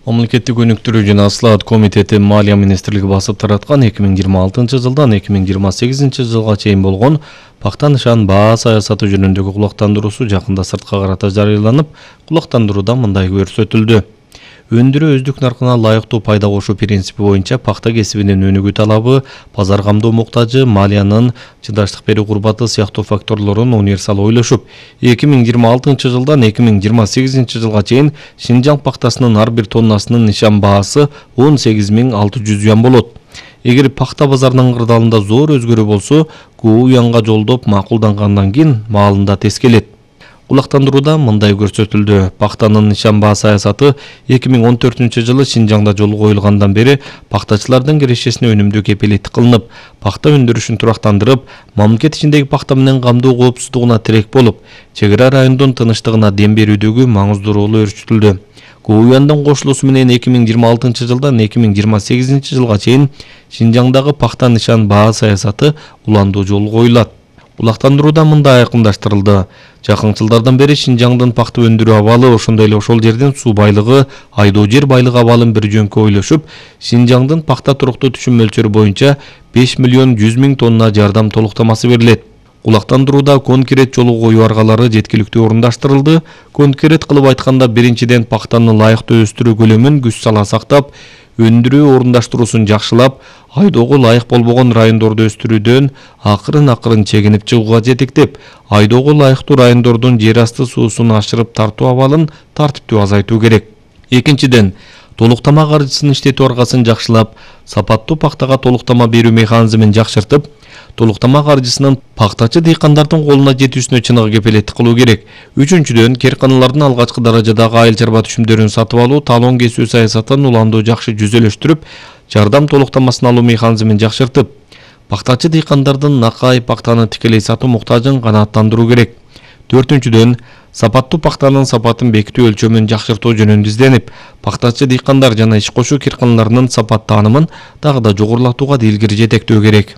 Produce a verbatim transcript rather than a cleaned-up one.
Мамлекеттик өнүктүрүү жана Слаат комитети Малия министрлиги басып тараткан эки миң жыйырма алтынчы жылдан эки миң жыйырма сегизинчи жылга чейин болгон пакта нышан баа саясаты жөнүндөгү кулактандыруусу жакында сыртка карата жарыяланып, кулактандырууда мындай көрсөтүлдү. Өндүрүү өздүк наркына лайыктуу пайда кошуу принципи боюнча пакта кесибинин өнүгүү талабы, базар камдоо муктажы, малиянын чыдаштык берүү курбаты сыяктуу факторлорун универсал ойлошуп, эки миң жыйырма алтынчы жылдан эки миң жыйырма сегизинчи жылга чейин Шинжаң пактасынын ар бир тоннасынын нышан баасы он сегиз миң алты жүз юан болот. Эгер пакта базарынын кырдаалында зор өзгөрүү болсо, көп юанга жолдоп макулдангандан кийин маалында тескелет. Кулактандырууда мындай көрсөтүлдү. Пактанын нышан баа саясаты эки миң он төртүнчү жылы Шинжаңда жолго коюлгандан бери пактачылардын кирешесине өнүмдүү кепилеттик кылынып, пакта өндүрүшүн турактандырып, мамлекет ичиндеги пакта менен камдоо коопсуздугуна тирек болуп, чек ара райондун тынчтыгына дем берүүдөгү маңыздуу ролу өрчүтүлдү. Коюяндын кошулуусу менен эки миң жыйырма алтынчы жылдан эки миң жыйырма сегизинчи жылга чейин Шинжаңдагы пакта нышан баа саясаты уландуу жолго коюлат. Кулактандырууда мындай айкындаштырылды. Жакын жылдардан бери Шинжаңдын пакта өндүрүү абалы, ошондой эле ошол жердин суу байлыгы, айдоо жер байлыгы абалын бир жөнкө ойлошуп, Шинжаңдын пакта туруктуу түшүм мөлчөрү боюнча беш миллион жүз миң тонна жардам толуктамасы берилет. Кулактандырууда конкрет жолго коюу аргалары жеткиликтүү орундаштырылды. Конкрет кылып айтканда, биринчиден пактаны лайыктуу өстүрүү көлөмүн күч сала сактап, өндүрүү орундаштыруусун жакшылап, айдоого лайык болбогон райондорду өстүрүүдөн акырын-акырын чегинип чыгууга жетектеп, айдоого лайыктуу райондордун жер асты суусун ашырып тартуу абалын тартиптүү азайтуу керек. Экинчиден, толуктама каржысын иштетүү аргасын жакшылап, сапаттуу пактага толуктама берүү механизмин жакшыртып, толуктама каржысынын пактачы дыйкандардын колуна жетүүсүнө чыныгы кепилеттик кылуу керек. Үчүнчүдөн, керканалардын алгачкы даражадагы айыл чарба түшүмдөрүн сатып алуу, талон кесүү саясатын уландуу жакшы жүзөлөштүрүп, жардам толуктамасын алуу механизмин жакшыртып, пактачы дыйкандардын накай пактаны тикелей сатуу муктажын канааттандыруу керек. Төртүнчүдөн, сапаттуу пактанын сапатын бекитүү өлчөмүн жакшыртуу жөнүндө изденип, пактачы дыйкандар жана иш кошуу керканаларынын сапат таанымын дагы да жогорулатууга да илгери жетектөө керек.